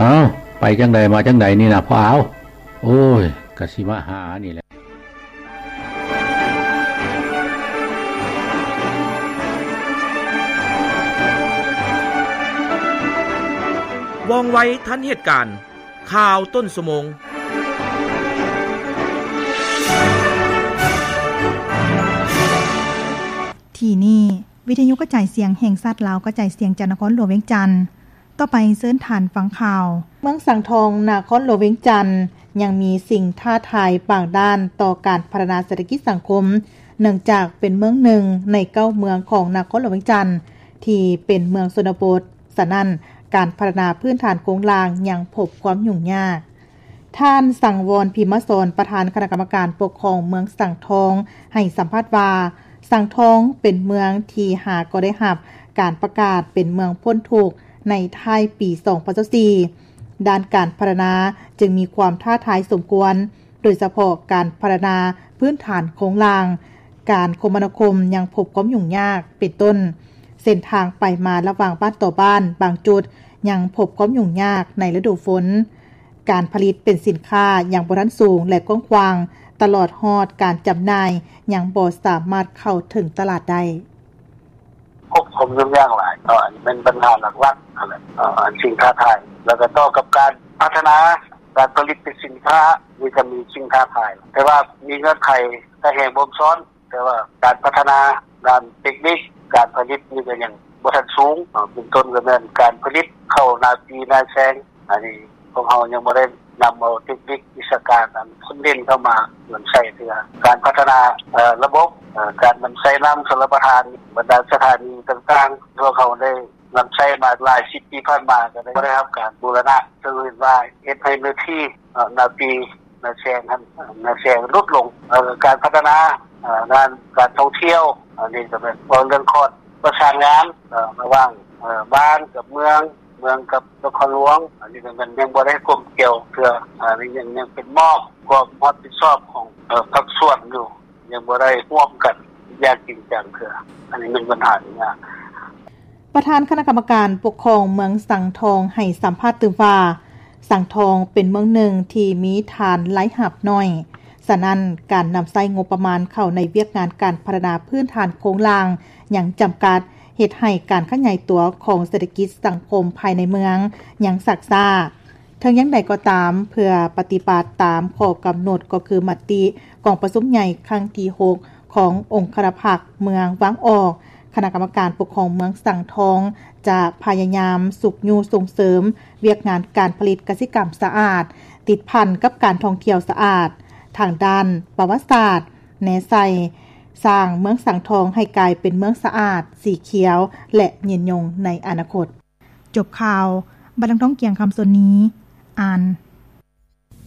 ອ້າວ ໄປຈັ່ງໃດມາຈັ່ງໃດນີ້ນະພໍ່ອາວ? ໂອ້ຍ ກະຊິມາຫານີ້ແຫຼະ. ວ່ອງໄວທັນເຫດການ ຂ່າວຕົ້ນຊົ່ວໂມງ. ທີ່ນີ້ ວິທະຍຸກະຈາຍສຽງແຫ່ງຊາດລາວ ກະຈາຍສຽງຈາກນະຄອນຫຼວງວຽງຈັນ. ຕໍ່ໄປເຊີນທ່ານຟັງຂ່າວ. ເມືອງສັງທອງ ນະຄອນຫຼວງວຽງຈັນ ຍັງມີສິ່ງທ້າທາຍບາງດ້ານຕໍ່ການພັດທະນາເສດຖະກິດສັງຄົມ ເນື່ອງຈາກເປັນເມືອງໜຶ່ງໃນເກົ້າເມືອງຂອງນະຄອນຫຼວງວຽງຈັນ ທີ່ເປັນເມືອງຊົນນະບົດ, ສະນັ້ນ ການພັດທະນາພື້ນຖານໂຄງລ່າງຍັງພົບຄວາມຫຍຸ້ງຍາກ. ທ່ານ ສັງວອນ ພິມມະສອນ ປະທານຄະນະກຳມະການປົກຄອງເມືອງສັງທອງ ໃຫ້ສຳພາດວ່າ ສັງທອງເປັນເມືອງທີ່ຫາກໍໄດ້ຮັບການປະກາດເປັນເມືອງພົ້ນທຸກໃນທ້າຍປີສອງພັນຊາວສີ່ ດ້ານການພັດທະນາຈຶ່ງມີຄວາມທ້າທາຍສົມຄວນ, ໂດຍສະເພາະການພັດທະນາພື້ນຖານໂຄງລ່າງ, ການຄົມມະນາຄົມຍັງພົບຄວາມຫຍຸ້ງຍາກ ເປັນຕົ້ນ ເສັ້ນທາງໄປມາລະຫວ່າງບ້ານຕໍ່ບ້ານບາງຈຸດຍັງພົບຄວາມຫຍຸ້ງຍາກໃນລະດູຝົນ, ການຜະລິດເປັນສິນຄ້າຍັງບໍ່ທັນສູງ ແລະ ກວ້າງຂວາງ, ຕະຫຼອດຮອດການຈຳໜ່າຍຍັງບໍ່ສາມາດເຂົ້າເຖິງຕະຫຼາດໄດ້. ພົບຄວາມຫຍຸ້ງຍາກຫຼາຍເນາະ, ອັນນີ້ແມ່ນບັນຫາຫຼັກໆ ຫັ້ນແຫຼະ ເອີ ອັນສິ່ງທ້າທາຍ ແລ້ວກໍຕໍ່ກັບການພັດທະນາການຜະລິດເປັນສິນຄ້າ ນີ້ກໍມີສິ່ງທ້າທາຍ ແຕ່ວ່າມີເງື່ອນໄຂ ຖ້າແຮງບົ່ມຊ້ອນ ແຕ່ວ່າການພັດທະນາດ້ານເຕັກນິກການຜະລິດນີ້ກໍຍັງບໍ່ທັນສູງເນາະ, ເປັນຕົ້ນກໍແມ່ນການຜະລິດເຂົ້ານາປີນາແຊງ ອັນນີ້ພວກເຮົາຍັງບໍ່ໄດ້ນຳເອົາເຕັກນິກວິຊາການອັນຄົນເດັ່ນເຂົ້າມານຳໃຊ້ເທື່ອ. ການພັດທະນາ ເອີ ລະບົບ ເອີ ການນຳໃຊ້ນ້ຳຊົນລະປະທານ ບັນດາສະຖານີຕ່າງໆ ພວກເຮົາໄດ້ນຳໃຊ້ມາຫຼາຍສິບປີຜ່ານມາ ກໍໄດ້ ບໍ່ໄດ້ຮັບການບູລະນະ ເຊິ່ງເຫັນວ່າເຮັດໃຫ້ເນື້ອທີ່ ເອີ ນາປີ ນາແຊງຫັ້ນ ນາແຊງຫຼຸດລົງ. ເອີ ການພັດທະນາ ເອີ ດ້ານການທ່ອງທ່ຽວ ອັນນີ້ກໍແມ່ນເວົ້າເລື່ອງຄອນປະສານງານ ເອີ ລະຫວ່າງ ເອີ ບ້ານກັບເມືອງ, ເມືອງກັບນະຄອນຫຼວງ, ອັນນີ້ກໍແມ່ນຍັງບໍ່ໄດ້ກົມກຽວເທື່ອ, ອັນນີ້ຍັງ ຍັງເປັນມອບຄວາມຮັບຜິດຊອບຂອງ ເອີ ພາກສ່ວນຢູ່, ຍັງບໍ່ໄດ້ຮ່ວມກັນຢ່າງຈິງຈັງເທື່ອ, ອັນນີ້ແມ່ນບັນຫາທີ່ຍາກ. ປະທານຄະນະກຳມະການປົກຄອງເມືອງສັງທອງໃຫ້ສຳພາດຕື່ມວ່າ ສັງທອງເປັນເມືອງໜຶ່ງທີ່ມີຖານລາຍຮັບໜ້ອຍ, ສະນັ້ນ ການນຳໃຊ້ງົບປະມານເຂົ້າໃນວຽກງານການພັດທະນາພື້ນຖານໂຄງລ່າງຍັງຈຳກັດ, ເຮັດໃຫ້ການຂະຫຍາຍຕົວຂອງເສດຖະກິດສັງຄົມພາຍໃນເມືອງຍັງຊັກຊ້າ. ເຖິງຢ່າງໃດກໍຕາມ, ເພື່ອປະຕິບັດຕາມຂໍ້ກຳນົດ ກໍຄືມະຕິກອງປະຊຸມໃຫຍ່ຄັ້ງທີຫົກ ຂອງອົງຄະນະພັກເມືອງວາງອອກ, ຄະນະກຳມະການປົກຄອງເມືອງສັງທອງ ຈະພະຍາຍາມຊຸກຍູ້ສົ່ງເສີມວຽກງານການຜະລິດກະສິກຳສະອາດ, ຕິດພັນກັບການທ່ອງທ່ຽວສະອາດ, ທາງດ້ານປະຫວັດສາດ, ແນໃສ່ສ້າງເມືອງສັງທອງໃຫ້ກາຍເປັນເມືອງສະອາດ, ສີຂຽວ ແລະ ຍືນຍົງໃນອະນາຄົດ. ຈົບຂ່າວ, ບັນລັງທອງ ກຽງຄຳ ສ່ວນນີ້ ອ່ານ.